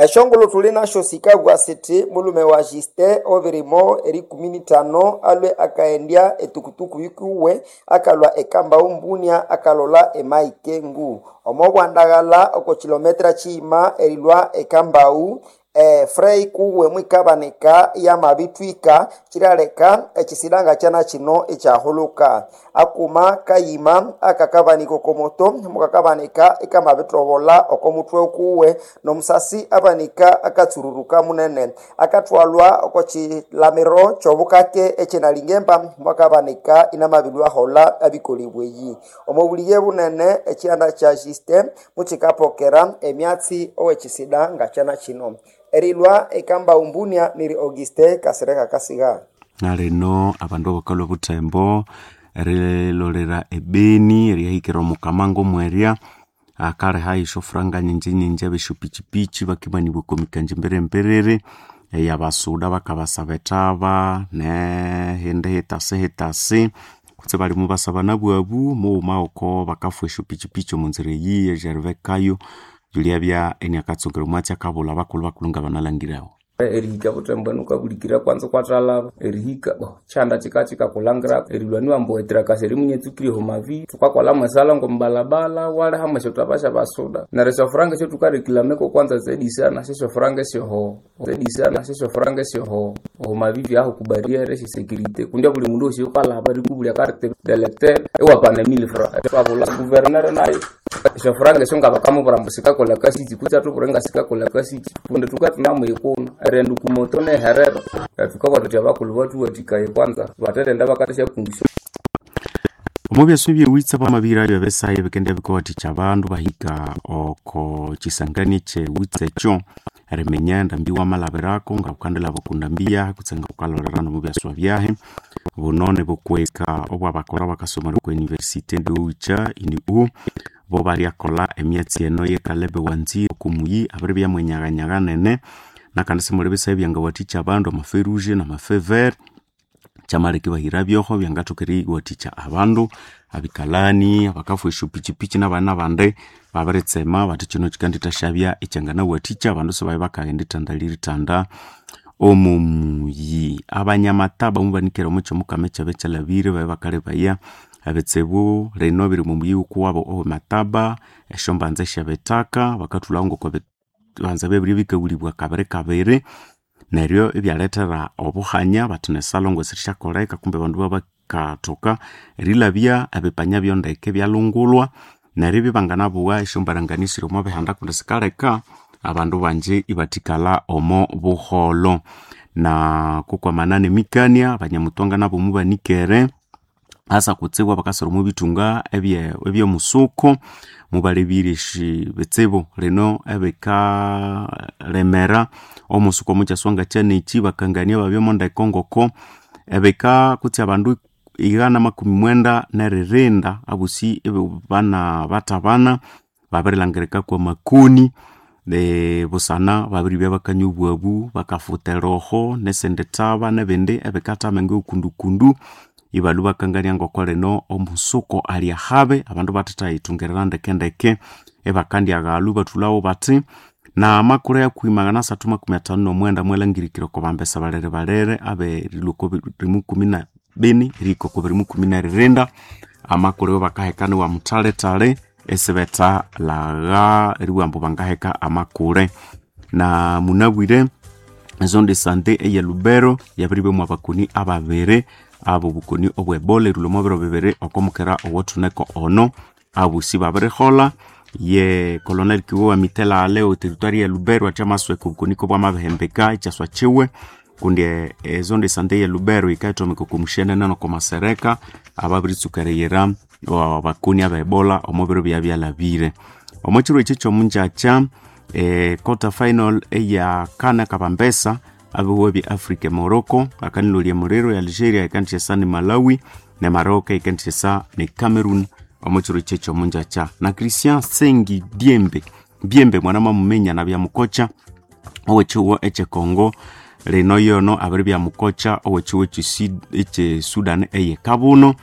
Eshongolo tuli nasho sikabwa siti mulume wa Justin obirimo erikumi n'itano alwe akaendya etukutuku yikuwe akalwa ekambao mbunia akalola emaikengu omo bwandaghala oko kilometra chiima erilwa ekambau Frey kuwe mwikabanika yamabitwika chilaleka echisidanga chana chino ekyahuluka akuma kayima akakabanika okomoto mukakabanika ikamabitobola okomutwe kuwe nomusasi abanika akatsururuka munene akathwalwa oko chilamiro kyobukake ekyinalingemba mwakabanika inamabilwahola abikolibweyi omo buliye bunene ekyihanda kya Justin mukikapokera emyatsi owekisida nga kyana kino erilwa ekamba umbunia niri Auguste Kasereka Kasiga. Nalino abandu abakalwa obuthembo erilolera ebeni erihikira omukamango mwerya akaleha esyofuranga nyingi nyingi abesyopichipichi bakimanibwa okwamikanja emberemberere eyabasuda bakabasaba ethaba nehindi hitasi hitasi kutse balimu basaba nabwabu mughuma oko bakafwa esyopichipichi omunzira eyi ejerivekayo yulyabya eniakatsungera omwatsi akabulha abakulhu bakulhu ngabanalangirawo. Erihika buthembo enu wukabulikira kwanza ikwathalaba erihika bo kyihanda kika kikakulhangira erilhwa niwamba owetirakasi erimunyetsukire omumavi thukakolha mwesala ngomubalabala waliha mwesyothaba syabasuda neryo esyofuranga esyotukarekilameko kwanza zedisana syesyofuranga esyoho zedisana syesyofuranga esyoho omumavivi aho kubariere esyesecurity kundi abuli mundu wosi oyukalhaba erikubulya carte d'electeur iwapana 1000 francs twabulha guvernere nayo esyofuranga esyo ngabakamubwira ambu sikakolha kasiki kutse athubwire ngasikakolha kasiki kundi thukathunamuyikuna erighenda okumoto neherera thukabugha thuthi abakulhu bathuwathikaye kwanza batherenda bakathasyakungisya. Omo byaswe ebyewitsa bamabihira ebisaha ebikendibya bikawathikya abandu bahika oko kyisangani ekyewitsa ekyo eriminya endambi wamalhabirako ngawukandilhaba oko ndambi yahi kutse ngawukalholera nomu byaswa byahi. Buno nibukweka obwabakolha bakasomera oko university endiwucha UNIU bo balyakolha emyatsi eno yekalebe wanzire oko muyi abiribya mwenyaganyaga nene nakandi simuli bisaha ebyangawathikya abandu ama feu rouge nama feu vert kyamaleka ibahira byoho byangathoka eriwathikya abandu abikalani abakafwa esyopichipichi nabandi nabandi babiritsema bathi kino kyikandithasyabya ekyanganawathikya abandu sibabya bakaghenda ithanda liritanda omo muyi. Abanyamataba mubanikere omo kyomukama ekyabya kyalhabire babya bakalebaya ebitsibu lino biri omo muyi wukuwabo owemataba esyombanza esyabithaka bakathulhawo ngoko ebibanza byabiribya bikawulibwa kabiri kabiri neryo ibyalethera obuhanya bathi nesalongo sirisyakoleka kumbe abandu babakathoka erilhabya ebipanya byondeke ibyalungulwa neryo ibya ibanganabugha esyombaranganio esiri omo bihanda kundi sikaleka abandu bangi ibathikalha omo buholho. Na kukwamana nemikania abanyamutwanga nabo mubanikere asa kutsibu abakasira omo bithunga ebyomusuku mubalebire bitsibu lino ebikalemera omusuku omukyaswa ngakyanekyi bakangania babya mondeko ngoko ebika kutse abandu 194 abosi bana bathabana babirilhangirika kwamakoni busana babiribya bakanywa obwabu bakafutha eroho nesindi thaba nebindi ebikathama ngekundukundu ibalhwa bakangania ngoko lino omusuku ali ahabi abandu bathathayithungirira ndekendeke ibakandyaghalhu ibathulhawo bathi namakura yakuhi 359 mwalhangirikire oko bambesa balere balere aberilhwa oko 2014 erihika oko 2016 amakuru bakaheka niwa muthalethale esibetha lagha eribugha ambu bangaheka amakure. Na munabwire ezone de sante eye Lubero yabiribya mwabakoni ababiri abo bukoni obwe Ebola erilhwa omo biro bibiri okomukera owothuneko ono abosi babiriholha ye Colonel Kiwewa Mitela o territoire ya Lubero athi amasweka obukoni kobwamabihembeka ekyaswa kyiwe kundi ezone de sante ye Lubero yikathomeka oko mushenene noko masereka ababiritsuka eriyira abakoni abe Ebola omo biro byabyalhabire. Omo kiro ekyi kyomungyakya quarter final eya kana kabambesa abihuwa bya Africa Morocco akanilolya emuliro ya Algeria yikandisyesa ni Malawi ne Maroc yikandisyesa ne Cameroon omo kiro ekyi ekyomungyakya. Na Christian Sengi Diembe Biembe mwana mwamuminya nabya mukocha owekyihuwo ekye Congo lino yono abiribya mukocha owekyihuwo ekye Sudan eye Kabuno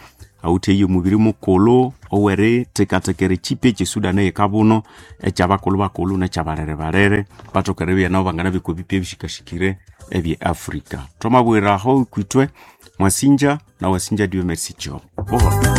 Awithe eyo mubiri mukulhu owerithekathekera ekipi ekyesudani eyikabuno ekyabakulhu bakulhu nekyabalere-balere bathoke eribya nabo banganabya okwa bipi ebishikashikire ebye Africa. Thwamabwiraho kwithwe mwasinja na wasinja Dieu merci Kyobo. Buholho.